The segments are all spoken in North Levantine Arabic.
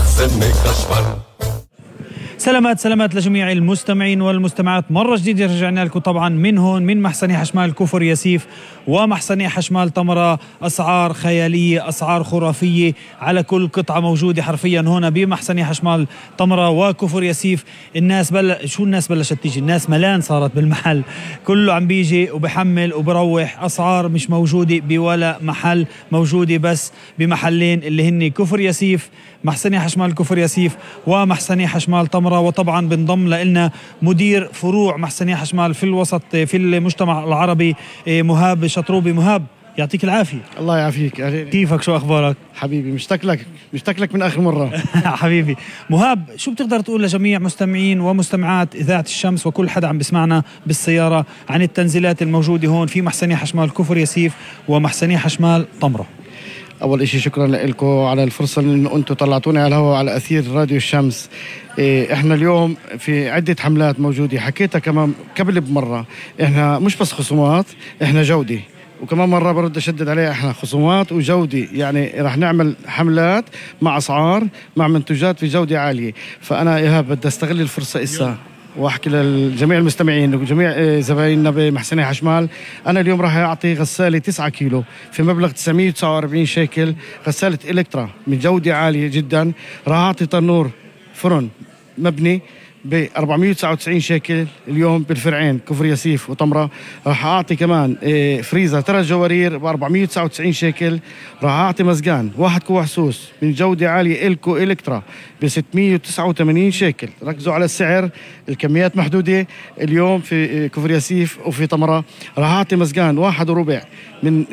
محسن خشمال. سلامات لجميع المستمعين والمستمعات، مرة جديدة رجعنا لكم طبعا من هون من محسني حشمال كفر ياسيف ومحسني حشمال تمرة. أسعار خيالية، أسعار خرافية على كل قطعة موجودة حرفيا هنا بمحسني حشمال تمرة وكفر ياسيف. الناس الناس بلشت تيجي، الناس ملان صارت بالمحل، كله عم بيجي وبحمل وبروح. أسعار مش موجودة بولا محل، موجودة بس بمحلين اللي هن كفر ياسيف، محسني حشمال كفر ياسيف ومحسني حشمال تمرة. وطبعا بنضم لنا مدير فروع محسني حشمال في الوسط في المجتمع العربي مهاب شطروبي. مهاب يعطيك العافية. الله يعافيك. كيفك؟ شو أخبارك؟ حبيبي مشتاق لك من آخر مرة. حبيبي مهاب، شو بتقدر تقول لجميع مستمعين ومستمعات إذاعة الشمس وكل حدا عم بسمعنا بالسيارة عن التنزيلات الموجودة هون في محسني حشمال كفر ياسيف ومحسني حشمال تمرة؟ أول إشي شكرا لكم على الفرصة إنه أنتم طلعتوني على الهواء على أثير راديو الشمس. إحنا اليوم في عدة حملات موجودة، حكيتها كمان قبل بمرة. إحنا مش بس خصومات، إحنا جودة، وكمان مرة برد أشدد عليها، إحنا خصومات وجودة. يعني رح نعمل حملات مع أسعار مع منتجات في جودة عالية. فأنا إيهاب بدي أستغل الفرصة إسا واحكي للجميع المستمعين وجميع زبايننا بمحسني حشمال. انا اليوم راح اعطي غساله 9 كيلو في مبلغ 949 شيكل، غساله الكترا من جوده عاليه جدا. راح اعطي تنور فرن مبني ب 499 شيكل اليوم بالفرعين كفر ياسيف وتمرة. راح اعطي كمان فريزر 3 جوارير ب 499 شيكل. راح اعطي مزقان 1 كوع سوس من جودة عالية الكو الكترا ب 689 شيكل. ركزوا على السعر، الكميات محدودة اليوم في كفر ياسيف وفي تمرة. راح اعطي مزقان 1 وربع من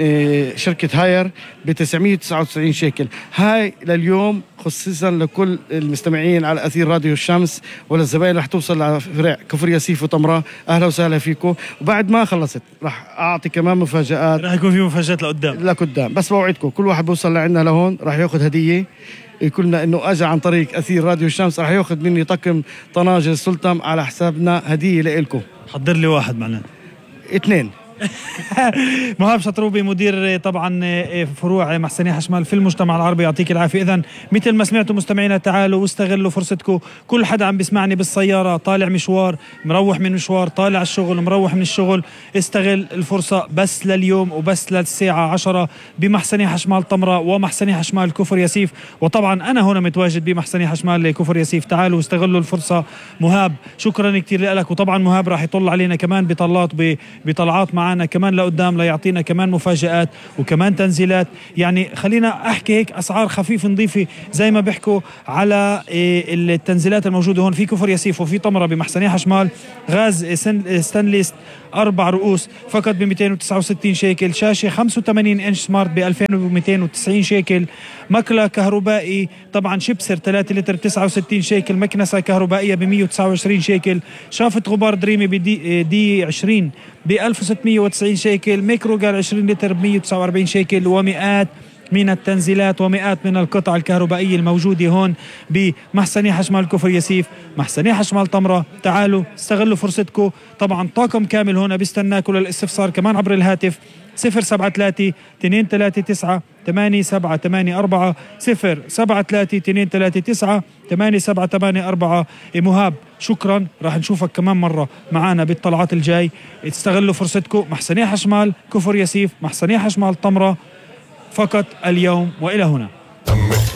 شركة هاير ب 999 شيكل. هاي لليوم خصيصا لكل المستمعين على أثير راديو الشمس والزبائن. رح توصل لفرع كفر ياسيف وتمرة. أهلا وسهلا فيكم. وبعد ما خلصت رح أعطي كمان مفاجآت، رح يكون في مفاجآت لقدام. بس بوعدكم كل واحد بوصل لعنا لهون رح ياخذ هدية، يقولنا إنه أجا عن طريق أثير راديو الشمس. رح ياخذ مني طقم طناجر سلطم على حسابنا، هدية لإلكم. حضر لي واحد معنا 2. مهاب شطروبي مدير طبعا فروع محسني حشمال في المجتمع العربي، يعطيك العافية. إذن مثل ما سمعتوا مستمعينا، تعالوا واستغلوا فرصتكم. كل حدا عم بيسمعني بالسيارة، طالع مشوار، مروح من مشوار، طالع الشغل، مروح من الشغل، استغل الفرصة بس لليوم وبس للساعة 10 بمحسني حشمال تمرة ومحسني حشمال كفر ياسيف. وطبعا أنا هنا متواجد بمحسني حشمال كفر ياسيف. تعالوا واستغلوا الفرصة. مهاب شكرا كتير لك. وطبعا مهاب راح يطلع علينا كمان بطلعات معنا كمان لقدام، ليعطينا كمان مفاجآت وكمان تنزيلات. يعني خلينا احكي هيك اسعار خفيف نضيفه زي ما بيحكوا على التنزيلات الموجوده هون في كفر ياسيف وفي تمرة بمحسني حشمال. غاز ستانليس 4 رؤوس فقط ب 269 شيكل. شاشه 85 انش سمارت ب 2290 شيكل. مكلا كهربائي طبعا شيبسر 3 لتر 69 شيكل. مكنسه كهربائيه ب 129 شيكل. شافة غبار دريمي دي 20 ب 1690 شيكل. ميكرو قال 20 لتر ب 149 شيكل. ومئات من التنزيلات ومئات من القطع الكهربائية الموجودة هون بمحسني حشمال كفر ياسيف، محسني حشمال تمرة. تعالوا استغلوا فرصتكم. طبعا طاقم كامل هنا بيستناكم للاستفسار كمان عبر الهاتف 073 239 8784 073 239 8784. مهاب شكرا، راح نشوفك كمان مرة معانا بالطلعات الجاي. استغلوا فرصتكم. محسني حشمال كفر ياسيف، محسني حشمال تمرة، فقط اليوم وإلى هنا.